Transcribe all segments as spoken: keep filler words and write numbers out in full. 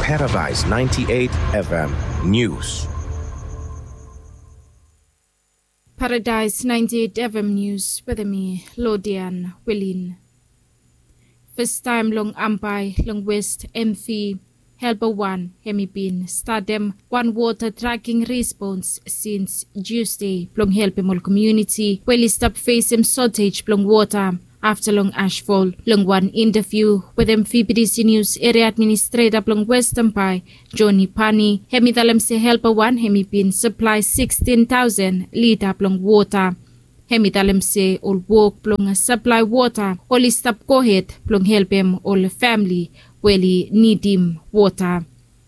Paradise ninety-eight F M News. Paradise ninety-eight F M News wetem mi, Lodian Wilin. Fastaem long Ambae long West Emfi, Helper wan hemi bin statem wan wota traking respons sins Tiusde blong helpem ol komuniti we oli stap fesem sotej blong wota afta long asfol. Long wan intaviu wetem V B T C News eria administreta blong West Ambae, Joni Pani, hemi talem se Helper wan hemi bin saplae sikstin taosen lita blong wota. Hemi talem se ol wok blong saplae wota oli stap gohed blong helpem ol famili we oli nidim wota.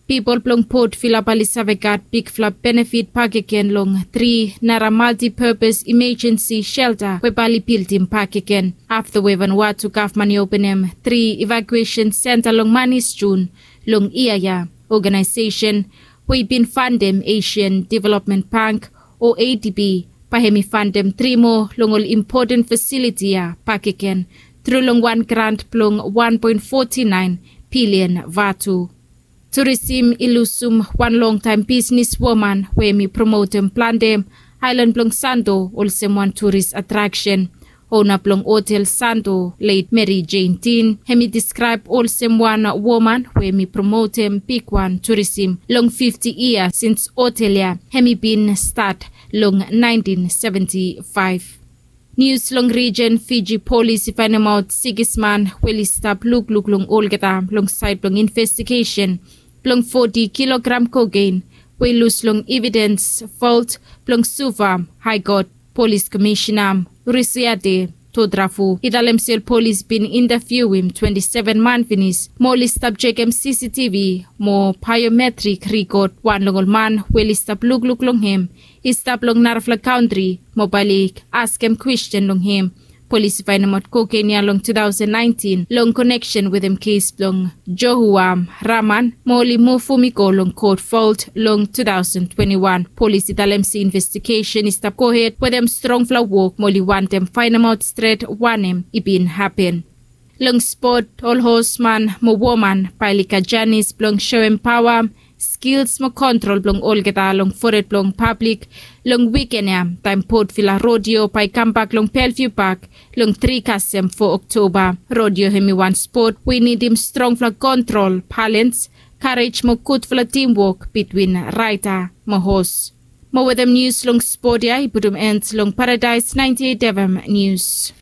Pipol blong Port Vila bae oli save gat bigfala benefit bakegen long tri nara multipurpos imajensi shelta we bae oli bildim bakegen afta we Vanuatu gavman i openem tri evakuesen senta long manis Jun long yia ya. Ogenaesesen we i bin fandem Asian Development Bank o A D B bae hemi fandem tri moa long ol impoten fasiliti ya bakegen tru long wan grant blong wan poen foti naen bilian vatu. Turisim i lusum wan longtaem bisnes woman we hemi promotem plante aelan blong Santo olsem wan turis atraksen. Ona blong otel Santo, let Mary Jane Dean, hemi diskraeb olsem wan woman we hemi promotem bigwan turisim long fifti yia sins otel ya hemi bin stat long naentin seventi faef. Nius long rijen, Fiji polis i faenemaot sikis man we oli stap lukluk long olgeta long saed blong investigesen blong foti kilogram koken we i lus long evidens volt blong Suva. Haekot polis komisena Rusiate Todrafu i talem se ol polis bin intaviuim twenti seven man finis mo oli stap jekem C C T V mo baeometrik rikod. Wan long ol man we oli stap lukluk long hem i stap long narafala kantri mo bae oli askem kwesten long hem. Polis i faenemaot koken ya long tu taosen naentin long koneksen wetem kes blong Johua Raman mo oli muvum i go long kot volt long tu taosen twenti wan. Polis i talem se investigesen i stap gohed wetem strongfala wok mo oli wantem faenemaot stret wanem i bin hapen. Long spot, ol hosman mo woman bae oli gat janis blong soem paoa, skils mo kontrol blong olgeta long fored blong pablik long wiken ya taem Port Vila Rodeo bae i kambak long Bellevue Park long tri kasem fo Oktoba. Rodeo hemi wan spot we i nidim strongfala kontrol, balans, karej mo gudfala timwok bitwin raeta mo hos. Mo wetem nius long spot ya i putum en long Paradise ninety-eight F M News.